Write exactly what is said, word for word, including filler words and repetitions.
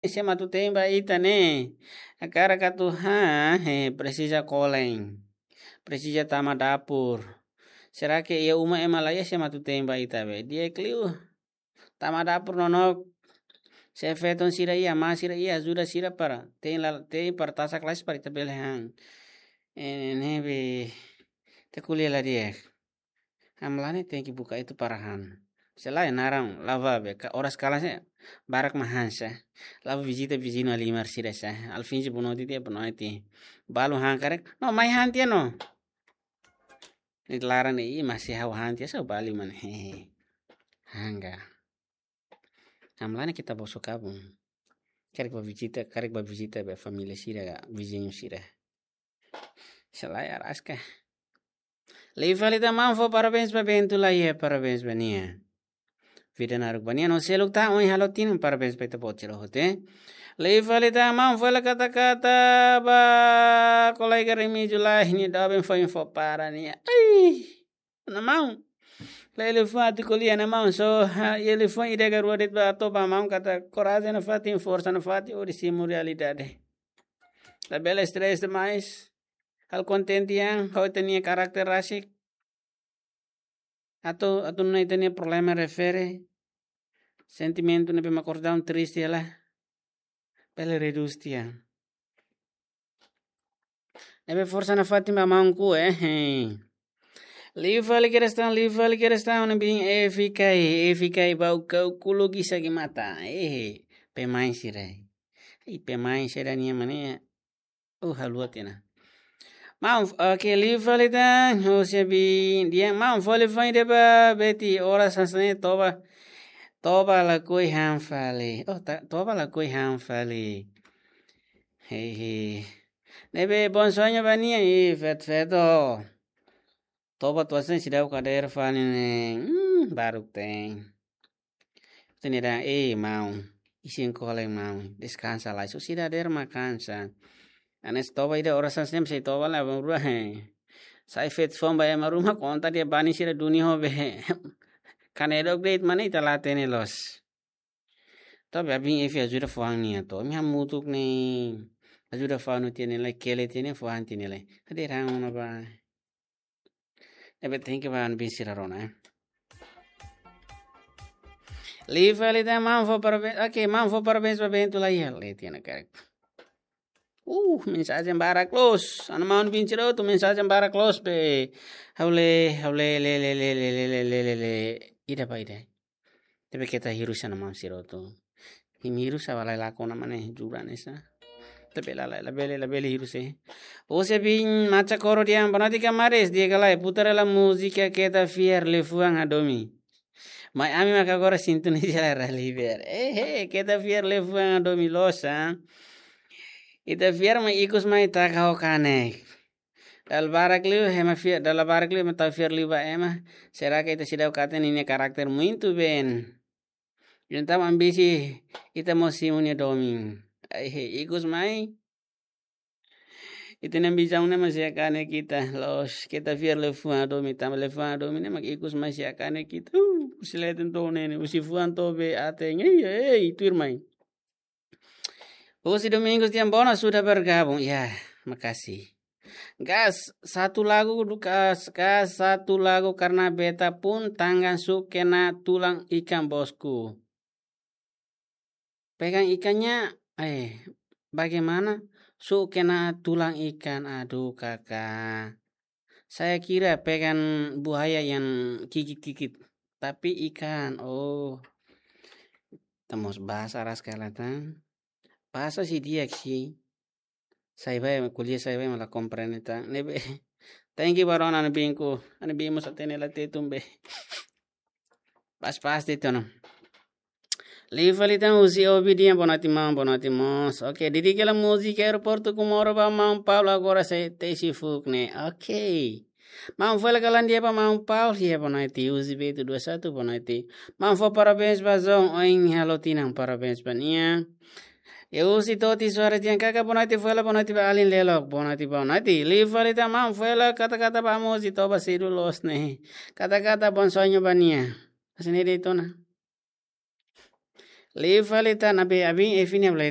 Sé mak atu te'in ba ita ne'e? Hakarak atu han, he, presiza kolen. Presiza tama dapur. Será que iha uma ema laiha sé mak atu te'in ba ita be? Di'ak liu. Tama dapur nonook. Xefe tan sira iha, mas sira iha, ajuda sira para te'in la, te'in para tasak lais para ita bele han. Eh, ne'ebé ita ko'alia la di'ak. Hamlaha ne'e tenke buka itu para han. Se lae naran la'o ba be, ka oras kalan sé barak mak han sá. La'o vizita viziñu halimar sira sá. Alfinsi bonoite tiha, bonoite. Balu han karik. No, mai han tiha no. Ne'e laran ne'e, ih, masih ha'u han tiha sá, balu mana. Hehe. Hangga. Hamlaha ne'e ita bosok kabun. Karik ba vizita, karik ba vizita be família sira, viziñu sira. Se lae araska. Liu fali tan maun fó parabéns ba Bento Laiha, parabéns ba nia. Vida naruk ba nia no seluk tan, ohin halo tinan, parabéns ba ita-boot sira hotu. Liu fali tan maun fó hela kata-kata ba kolega Remígio Laiha, nia doben foin fó para nia. Ai, mana maun. Lele fati ko'alia ne'e maun, só, ha, lele fati ida ka rua de'it ba atu ba maun katak korajen nafatin, forsa nafatin, hodi simu realidade. Labele stress demais. Halo kontente an, ho ita-nia karakter rasik. Atu, atu nune'e ita-nia problema refere. Sentimentu ne'ebé mak kosdaun triste hela. Bele redús tiha. Ne'ebé forsa nafatin ba maun ku, eh, eh. Liu fali kedas tan, liu fali kedas tan, ne'ebé F K, F K ba ukau kulo gisa gi mata. Eh, pemain sira. Ih, pemain sira nia mane. Oh, haluha tiha ona. Maun, oke, liu fali tan, husi abi, di'ak, maun fó hela foin ida ba Beti, oras hanesan ne'e toba, toba lakohi han fali. Oh, ta-, toba lakohi han fali. Hehe. Ne'ebé bom sonho ba nia, ih, feto, feto. Toba atu hanesan seidauk hadeer fali ne'e, hmm, baruk tein. Ita-nia dehan, eh, maun, isin kolen maun, deskansa lai, só seidauk hadeer mak kansa. Hanesan toba ida oras hanesan ne'e, sei toba la, bang rua, he. Sai feto foun ba ema ruma, konta dehan banin sira duni ho be. Kanedok de'it mane ita la hatene loos. Toba abin F ajuda fó han nia to. Ami hamutuk ne'e. Ajuda fó han tiha ne'e lai, kele tiha ne'e, fó han tiha ne'e lai. Hadeer han ona ba. Ne'ebé tenke ba ami-nia sira rona, eh. Liu fali tan maun fó parabéns. Oke, maun fó parabéns ba Bento Laiha. Lele tiha ona karik. Uh, mensajen barak loos. Ana maun bin sira hotu mensajen barak loos be. Ha'u lee, ha'u lee, lee, lee. Ida ba ida. Tapi keta hirus ana maun sira hotu. Imi hirus sá ba lai lakon ona mane jura nesa. Tapi la, la, labele, labele hirus, eh. Husi abi Macha Koro dehan, boa noite kamares, di'ak ka lae, putar hela múzika Keta Fiar Liafuan Hadomi. Mai ami maka agora sintoniza la Rally Beer. Eh, eh, Keta Fiar Liafuan Hadomi loos, ah. Ita fiar mai ikus mai taka ho kanek. Dala barak liu, ema fiar, dala barak liu, ema tau fiar liu ba ema. Será que ita seidauk hatene nia karakter muito bem? Entaun ambisi ita mós simu nia domin. Ai, he, ikus mai. Ita-nia ambisaun ne'e mak sei kanek ita. Loos, Keta Fiar Liafuan Hadomi, tanba Liafuan Hadomi ne'e mak ikus mai sei kanek ita. Uh, husi leten to'o neen, husi fuan to'o bee aten. Ei, ei, tuirmai. Husi Domingos dehan, boa noite, sudah bergabung. Ya, makasih. Gas satu lagu, gas, gas satu lagu karena beta pun tangan su'uk kena tulang ikan, bosku. Pegang ikannya, eh, bagaimana? Su'uk kena tulang ikan, aduh, kakak. Saya kira pegang buaya yang gigit-gigit, tapi ikan. Oh. Ita mós bahasa ras kala tan. Bahasa sih di'ak sih. Sai bá ema ko'alia, sai bá ema la komprende tan. Ne'ebé. Thank you ba rona, ana bin ku. Ana bin mós hatene la Tetun be. Pas, pas de'it ona. Liu fali tan husi Obi dehan, boa noite maun, boa noite mós. Oke, dedika hela múzika Aeroportu Comoro ba maun Paulo, agora sei tesi fuuk ne'e. Oke. Maun fó hela kalan di'ak ba maun Paulo, ya, boa noite. Husi Beto dua satu, boa noite. Maun fó parabéns ba Zon, ohin halo tinan, parabéns ba nia. Ya, husi Toti Suara dehan, kakak, boa noite, fó hela boa noite ba alin Lelok, boa noite, boa noite. Liu fali tan maun fó hela kata-kata ba Mozi, toba sedu loos ne'e. Kata-kata bom sonho ba nia. Hanesan ne'e de'it ona. Liu fali tan, abe abin Evinia Blade.